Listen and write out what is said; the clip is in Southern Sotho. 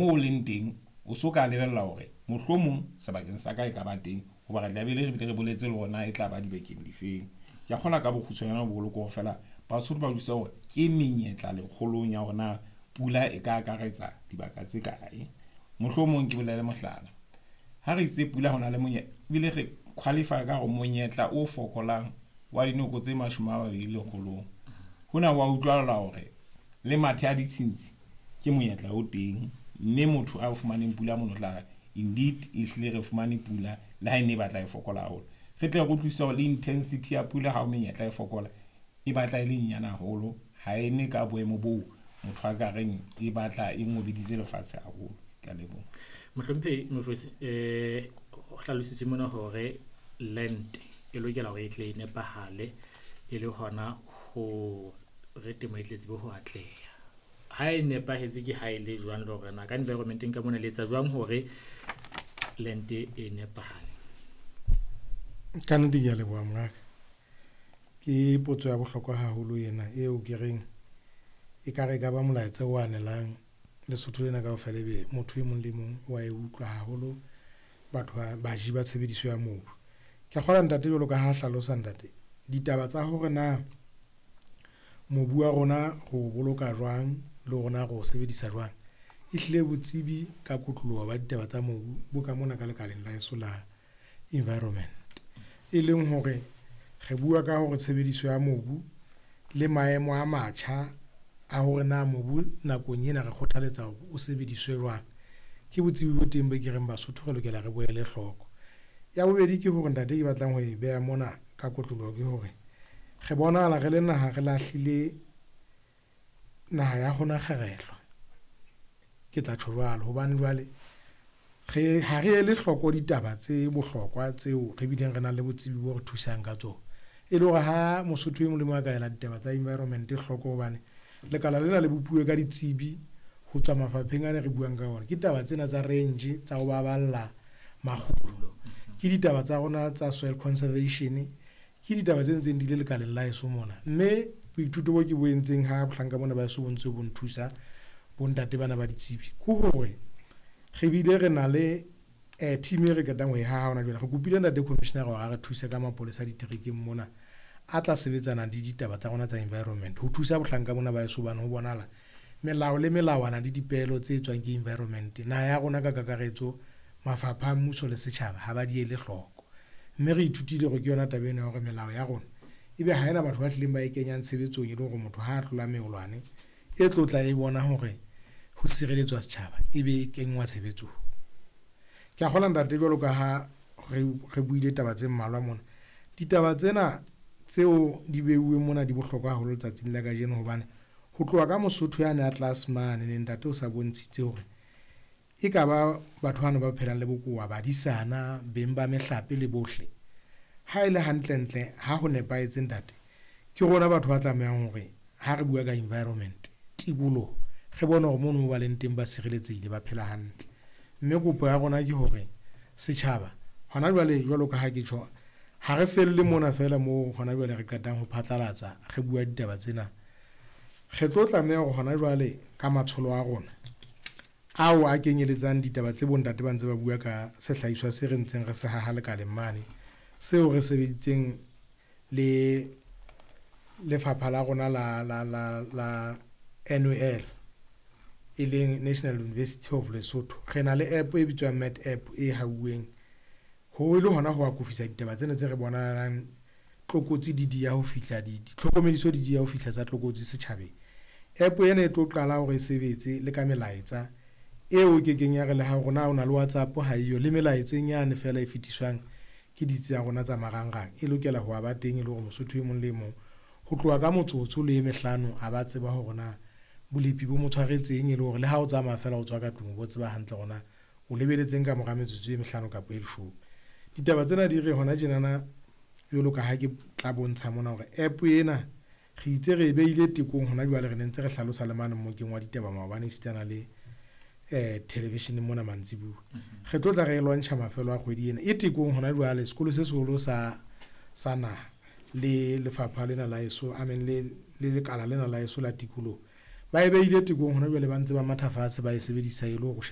Moo o leng teng, o so ka lebella hore mohlomong sebakeng sa ka e ka ba teng. Hoba re tla be re bile re boletse le hore na e tla ba dibakeng difeng. Ke a kgolwa ka bokgutshwanyane bo bolokwe hore feela Basotho ba utlwisise hore ke menyetla lekgolong ya hore na pula e ka akaretsa dibaka tse kae. Mohlomong ke bolele mohlala, ha re itse pula ho na le monyetla ebile re qualify ka hore monyetla o fokolang wa dinoko tse 20 lekgolong. Hona ho a utlwahala hore le mathe a ditshintshi ke monyetla o teng. Mme motho a fumaneng pula mono o tla re indeed ehlile re fumane pula le ha e ne e batla e fokola haholo. Re tle re utlwisise hore le intensity ya pula ha o menyetla e fokola, e batla e le nyane haholo. Ha e ne ka boemo boo motho a ka reng e batla e ngobeditse lefatshe haholo. Ke a leboha. Mohlomphehi Mofose, ho hlalositswe mona hore land e lokela hore e tle e nepahale e le hona ho re temo e tle tsebe ho atleha. Ha e nepahetse ke ha e le jwang le hore na ka environment-eng ka mona le etsa jwang hore land e nepahale? Ka nnete ke a leboha mongaka. Ke potso ya bohlokwa haholo ena eo ke reng ekare e ka ba molaetsa o anelang Lesotho lena kaofela ebe motho e mong le mong wa e utlwa haholo batho ba baji ba tshebediso ya mobu. Ke a kgolwa ntate jwalo ka ha hlalosa ntate, ditaba tsa hore na mobu wa rona re o boloka jwang le hore na re o sebedisa jwang, ehlile botsebi ka kotloloho ba ditaba tsa mobu bo ka mona ka lekaleng la heso la environment. E leng hore re bua ka hore tshebediso ya mobu le maemo a matjha a hore na mobu nakong ena re kgothaletsa hore o sebediswe jwang, ke botsebi bo teng bo ke reng Basotho re lokela re bo ele hloko. Ya bobedi ke hore ntate ke batlang ho e beha mona ka kotloloho ke hore re bonahala re le naha re lahlile naha ya rona kgerehlwa. Ke tla tjho jwalo hobane jwale re ha re ele hloko ditaba tse bohlokwa tseo re bileng re nang le botsebi bo re thusang ka tsona. E le hore ha Mosotho e mong le mong a ka ela ditaba tsa environment hloko hobane lekala lena le bopuwe ka ditsebi ho tswa mafapheng ana re buang ka ona. Ke taba tsena tsa range tsa ho baballa makgulo, ke ditaba tsa rona tsa soil conservation, ke ditaba tse ntseng di le lekaleng la heso mona. Mme boithuto bo ke bo entseng ha bohlanka bona ba heso bo ntse bo nthusa bontate bana ba ditsebi, ke hore re bile re na le team e re qetang ho e haha hona jwale. Re kopile ntate commissioner hore a re thuse ka mapolesa diterekeng mona a tla sebetsana le ditaba tsa rona tsa environment ho thusa bohlanka bona ba heso hobane ho bonahala melao le melawana le dipehelo tse tswang ke environment naha ya rona ka kakaretso mafapha a mmuso le setjhaba ha ba di ele hloko. Mme re ithutile hore ke yona taba ena ya hore melao ya rona ebe ha ena batho ba hlileng ba e kenyang tshebetsong e le hore motho ha a tlola meolwane e tlo tla e bona hore ho sireletswa setjhaba ebe e kenngwa tshebetsong. Ke a kgolwa ntate jwalo ka ha re buile taba tse mmalwa mona. Ditaba tsena tseo di beuweng mona di bohlokwa haholo letsatsing la kajeno hobane ho tloha ka Mosotho yane a tlase mane ne ntate o sa bontshitse hore e ka ba batho bana ba phelang le bokowa, badisana, beng ba mehlape le bohle. Ha e le hantlentle ha ho nepahetse ntate, ke rona batho ba tlamehang hore ha re bua ka environment, tikoloho, re bone hore mono mo ba leng teng ba sireletsehile, ba phela hantle. Mme kopo ya rona ke hore setjhaba hona jwale jwalo ka ha ke tjho, ha re felle mona feela moo hona jwale re qetang ho phatlalatsa re bua ditaba tsena. Re tlo tlameha hore hona jwale ka matsholo a rona ao a kenyeletsang ditaba tse bontate ba ntse ba bua ka sehlahiswa se re ntseng re se haha lekaleng mane, seo re sebeditseng le lefapha la rona la NUL e leng National University of Lesotho. Re na le app e bitswang Met App e hauweng ho le hona ho akofisa ditaba tsena tse re bonahalang tlokotsi di dia ho fihla ditlhokomediso di dia ho fihla tsa tlokotsi setjhabeng. App ena e tlo qala hore e sebetse le ka melaetsa eo ke keng ya re le ha hore na o na le WhatsApp ha eyo le melaetseng yane feela e fetiswang ke ditsi tsa rona tsa marangrang e lokela ho ba teng e le hore Mosotho e mong le e mong ho tloha ka motsotso le e mehlano a ba tseba hore na bolepi bo mo tshwaretseng e le hore le ha o tsamaya feela o tswa ka tlung o bo tseba hantle hore na o lebeletseng ka mora metsotso e mehlano kapa e leshome. Ditaba tsena di re hona tjenana jwalo ka ha ke tla bontsha mona hore app ena re itse re e behile tekong hona jwale re ne ntse re hlalosa le mane mmokeng wa ditaba maobane esitana le television mona mantsibuya. Re tlo tla re e launcha mafelo a kgwedi ena e tekong hona jwale sekolo se seholo sa naha le lefapha lena la heso, I mean le lekala lena la heso la tikoloho. Ba e behile tekong hona jwale, ba ntse ba matha fatshe, ba e sebedisa e le ho sheba.